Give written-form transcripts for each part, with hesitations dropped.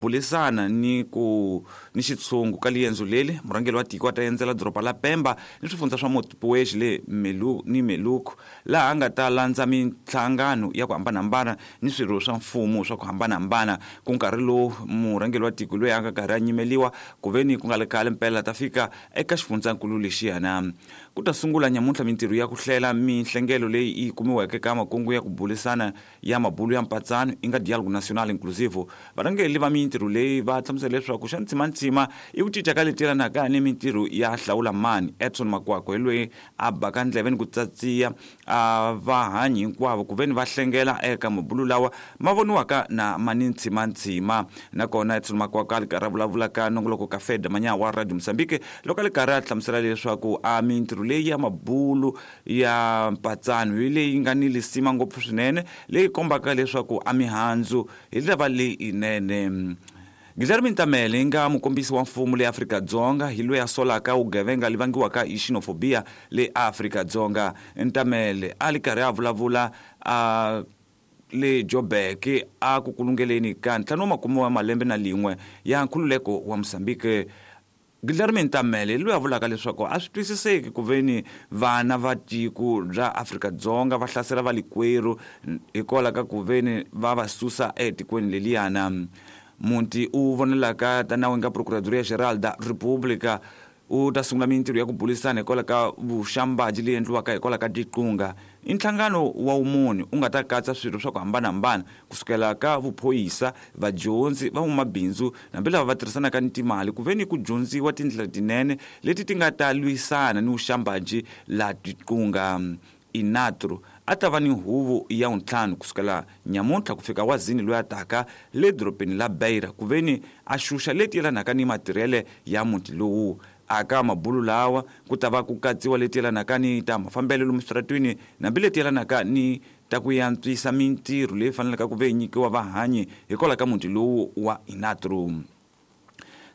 Bulisana ni ku ni xitshungu ka liendzo leli, murhangeri wa tiko a ta endzela doroba la Pemba ni swifundza swa Montepuez le Melu ni Meluco, laha a nga ta landza minhlangano ya ku hambanahambana ni swirho swa mfumo swa ku hambanahambana. Ku nkarhi lowu murhangeri wa tiko loyi a nga karhi a nyimeliwa ku ve ni ku nga ri khale mpela ta fika eka xifundzankulu lexiyana. Ku ta sungula nyamuntlha mintirho ya ku hlela minhlengelo leyi yi kumiweke ka makungu ya ku bulisana ya mabulu ya mpatsano i nga Diálogo Nacional Inclusivo. Varhangeri va mintirho leyi va hlamusela leswaku xa ntsimantsima i ku cinca ka leti yelanaka ni mintirho ya hlawula mani. Edson Makwakwa hi loyi a baka ndleve ni ku tsatsiya a vahanyi hinkwavo ku veni va hlengela eka mabulu lawa ma voniwaka na ma ni ntsimantsima. Nakona Edson Makwakwa a li karhi a vulavula ka nongoloko ka Feda Manyawa wa Radio Mozambique loko a li karhi a hlamusela leswaku a mintirho leyi ya mabulu ya mpatsano hi leyi nga ni lisima ngopfu swinene leyi kombaka leswaku a mihandzu hi lava leyinene. Guilherme Ntamele nga mukombisi wa mfumo le Afrika-Dzonga hi loyi a solaka vugevenga li vangiwaka hi xenofobia le Afrika-Dzonga. Ntamele a li karhi a vulavula a le Joburg a ku kulungeleni ka 50 wa malembe na lin'we ya nkhululeko wa Mozambique. Guilherme Ntamele loyi a vulaka leswaku a swi twisiseki ku veni vana va tiko ra Afrika-Dzonga va hlasela valikwerhu hikwalaho ka ku veni va va susa etikweni leliyana. Muti u vonelaka ta nawu nga Procuradoria Geral da República u ta sungula mintirho ya ku bulisana hikwalaho ka vuxambaji leyi endliwaka hikwalaho ka tiqunga. I nhlangano wa wumuni u nga ta katsa swirho swa ku hambanahambana kusukela ka vuphoyisa, vadyondzi, van'wamabindzu hambi lava va tirhisanaka ni timali ku ve ni ku dyondziwa tindlela tinene leti ti nga ta lwisana ni vuxambaji la tiqunga. Inatru a ta va ni huvo ya wuntlhanu kusukela nyamuntlha ku fika wazini loyi a taka le dorobeni la Beira ku ve ni a xuxa leti yelanaka ni matirhele ya muti lowu. Aka mabulu lawa ku ta va ku katsiwa leti yelanaka ni ta mafambelo lomu switaratwini hambi leti yelanaka ni ta ku yantswisa mintirho leyi faneleke ku ve yi nyikiwa vahanyi hikwalaho ka muti lowu wa Inatru.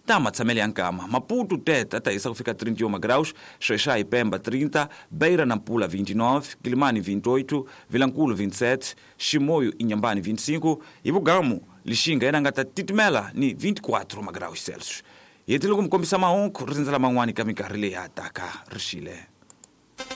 Ta matshamele ya nkama Maputo teta ta hisa ku fika 31 graus, Xexai Pemba 30, Beira Nampula 29, Quilimane 28, Vilankulo 27, Chimoio Inhambane 25, hi vugamu Lixinga yena nga ta titimela ni 24 magraus Celsius. Hi hetile ku mi kombisa mahungu ri rindzela man'wani ka minkarhi leyi ya taka rixile.